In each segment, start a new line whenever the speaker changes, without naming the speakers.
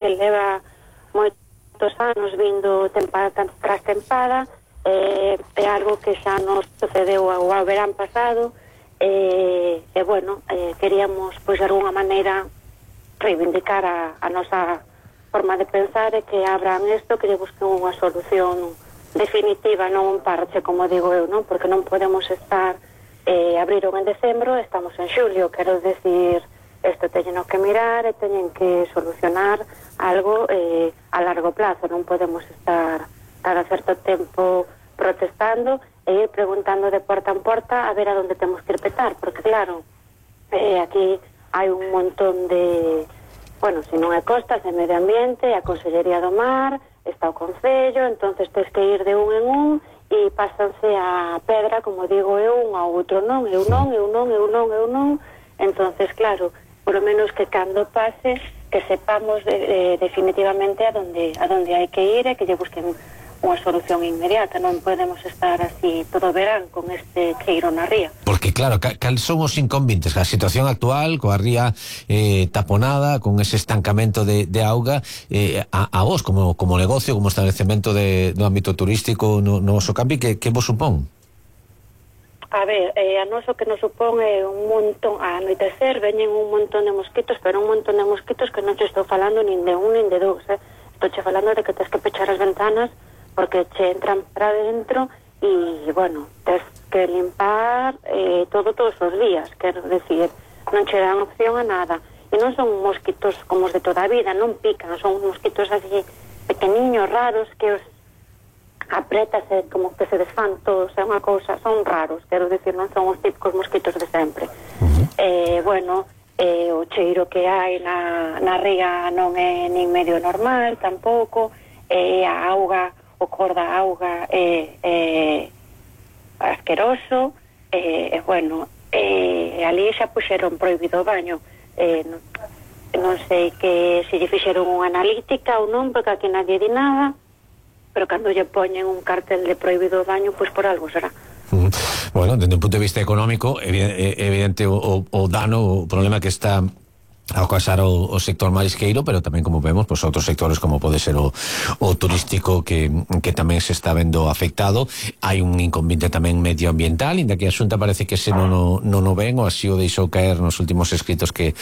que leva moitos anos vindo tempada tras tempada, é algo que xa nos sucedeu ao verán pasado, e bueno, queríamos pois de alguna maneira reivindicar a nosa forma de pensar e que abran isto, que lle busquen unha solución definitiva, non un parche, como digo eu, non? Porque non podemos estar abriron en decembro, estamos en xulio, quero decir, isto teñen que mirar e teñen que solucionar algo a largo plazo, non podemos estar cada certo tempo protestando e ir preguntando de porta en porta a ver a donde temos que ir petar, porque claro, aquí hai un montón de, bueno, se non é costas, é medio ambiente, a Consellería do Mar, está o Concello, entonces tens que ir de un en un e pásanse a pedra, como digo eu, un ao outro, non, eu non, entonces claro, por lo menos que cando pase, que sepamos definitivamente a donde hai que ir e que lle busquen unha solución inmediata, non podemos estar así todo verán con este cheiro na ría.
Porque claro, cal son os inconvenientes? A situación actual, coa ría taponada, con ese estancamento de auga, a vos como negocio, como establecemento do ámbito turístico no vosso campi, que vos supón?
A ver, a noso que nos supón é un montón, a anoitecer veñen un montón de mosquitos, pero un montón de mosquitos que non te estou falando nin de un nin de dous, estou che falando de que tens que pechar as ventanas porque che entran para dentro e, bueno, tens que limpar todos os días, quero decir, non che dan opción a nada. E non son mosquitos como os de toda a vida, non pican, son mosquitos así pequeniños, raros, que os apretas e como que se desfan todos, é unha cousa, son raros, quero decir, non son os típicos mosquitos de sempre. Bueno, o cheiro que hai na ría non é nin medio normal, tampouco, a auga, o cor da auga é asqueroso, bueno, ali xa puxeron prohibido o baño, non sei que se lle fixeron unha analítica ou non, porque aquí nadie di nada, pero cando lle poñen un cartel de prohibido o baño, pois por algo será.
Bueno, desde un punto de vista económico, evidente o dano, o problema que está a ocasionar o sector marisqueiro, pero tamén, como vemos, pues, outros sectores como pode ser o turístico que tamén se está vendo afectado. Hai un inconveniente tamén medioambiental, inda que a Xunta parece que se non o ven, ou así o deixou caer nos últimos escritos que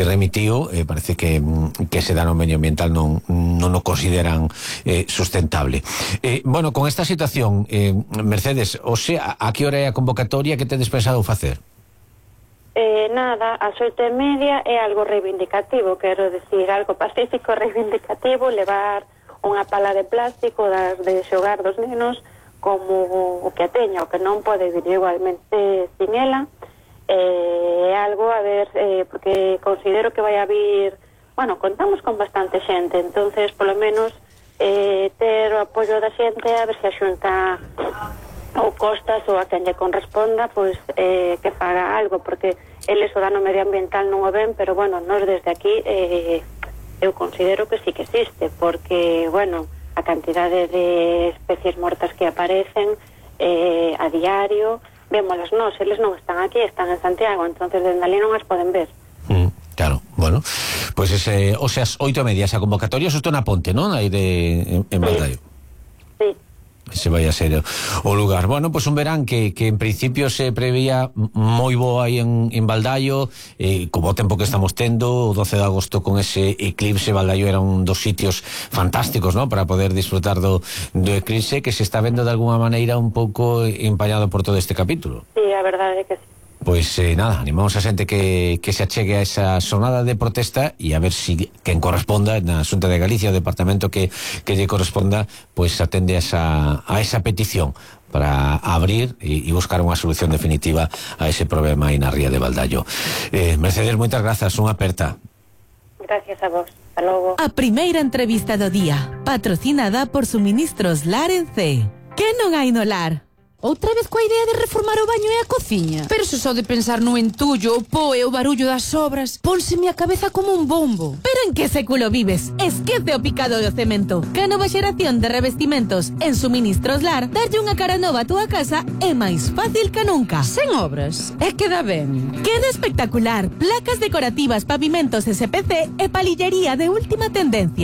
remitiu, parece que ese dano medioambiental non o consideran sustentable. Bueno, con esta situación, Mercedes, o sea, a que hora é a convocatoria, que tedes pensado facer?
Nada, ás 8:30 é algo reivindicativo, quero decir, algo pacífico, reivindicativo, levar unha pala de plástico de xogar dos nenos como o que a teña, o que non pode vir igualmente sin ela, é algo, a ver, porque considero que vai a vir, bueno, contamos con bastante xente, entonces, polo menos, ter o apoio da xente, a ver se a Xunta ou Costas ou a quen lle corresponda, pois que faga algo, porque eles o dano medioambiental non o ven, pero bueno, nós desde aquí eu considero que sí que existe, porque, bueno, a cantidade de especies mortas que aparecen a diario, vémolas nós, eles non están aquí, están en Santiago, entonces dende ali non as poden ver.
Claro, bueno, pois ese, o sea, 8:30 esa convocatoria, eso está na Ponte, non? Aí en Baldaio.
Sí.
Ese vai a ser o lugar. Bueno, pois un verán que en principio se preveía moi bo aí en Baldaio, como o tempo que estamos tendo, o 12 de agosto con ese eclipse, Baldaio era un dos sitios fantásticos, ¿no?, para poder disfrutar do eclipse, que se está vendo de alguna maneira un pouco empañado por todo este capítulo.
Sí, a verdade é que sí.
Pois nada, animamos a xente que se achegue a esa xornada de protesta e a ver si quen corresponda na Xunta de Galicia, o departamento que lle corresponda, pois atende a esa petición para abrir e buscar unha solución definitiva a ese problema aí na ría de Baldaio. Mercedes, moitas grazas, unha aperta.
Gracias a vos, hasta logo.
A primeira entrevista do día, patrocinada por Suministros Lar en C. Que non hai no lar? outra vez coa idea de reformar o baño e a cociña. Pero se só de pensar no entullo, o po e o barullo das obras, pónseme a cabeza como un bombo.
Pero en que século vives? Esquece o picado do cemento. Que a nova xeración de revestimentos en Suministros Lar, darlle unha cara nova a túa casa é máis fácil que nunca.
Sen obras, é queda ben.
Queda espectacular. Placas decorativas, pavimentos SPC e palillería de última tendencia.